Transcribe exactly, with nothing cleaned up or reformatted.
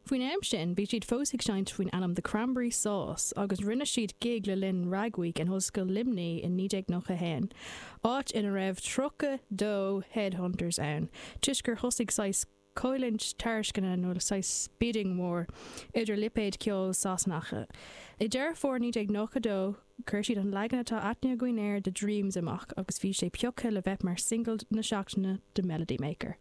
Faoin am sin bhí siad fós ag seinnt faoin ainm The Cranberry Sauce agus rinne siad gig le linn Rag Week in Ollscoil Luimnigh in naoi déag nócha haon, áit ina raibh tríocha dó headhunters ann, toisc gur thosaigh saghas coimhlint tairisceana nó saghas bidding war idir lipéid ceoil Sasanacha. I Deireadh Fómhair naoi déag nócha dó chuir siad an leagan atá aithne againn air de Dreams amach agus bhí sé pioctha le bheith mar single na seachtaine de Melody Maker.